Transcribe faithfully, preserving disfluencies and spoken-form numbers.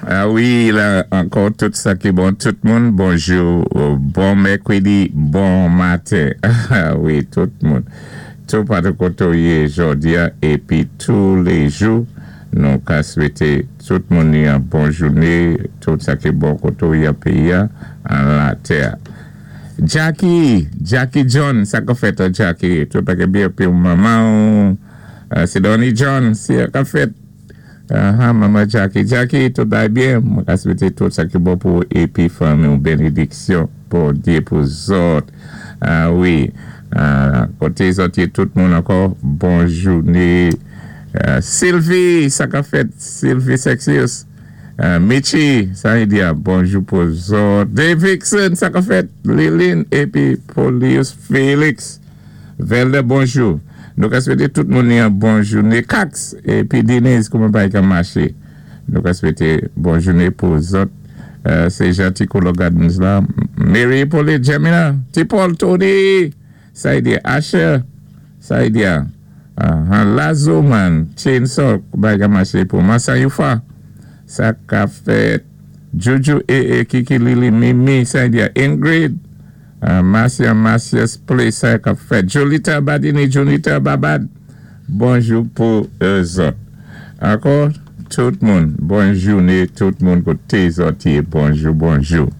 Ah wi, la ankò tout sa ki bon, tout moun, bonjou, bon mèkwédi, bon maten. Ah wi, tout moun. Tou patou koté ou yé jòdi-a épi tou lé jou, nou ka swété tout moun yon bon jouné, tout sa ki bon koté ou yé péyi-a, an latè. Jackie, Jackie John, sa ka fèt Jackie, tout bagay byen épi manman, Sidonie John, sa ka fèt. Uh-huh, manman Jackie, Jackie, tout bagay byen, mwen ka swété tout sa ki bon pou épi fanmi ou bénédiksyon pou Dye pou zòt. Ah wi, koté zòt yé tout moun ankò, bon jouné. Sylvie, sa ka fèt, Sylvie Sexius. Michi, sa yi di a, bonjou pou zòt. Davidson, sa ka fèt, Lilin, épi Polius Felix. Velde, bonjou. Nou ka swété tout moun yon bon jouné. Kax, épi Denise, kouman bagay ka maché. Nou ka swété bon jouné pou zòt. Sé Janti Kolo Gardens la. Mary Pauline Gemina, Ti Paul Tony, sa yi di Asher, sa yi di a. Lazo man, Chainsaw, bagay ka maché pou Massa Yufa. Sa ka fèt. Juju E E Kiki Lili Mimi, sa yi di a Ingrid. Marcia Marcia's Place, sa ka fèt. Jolita Badini, Jonita Babad. Bonjou pou zòt. Ankò, tout moun, bon jouné, tout moun koté zòt yé, bonjou, bonjou.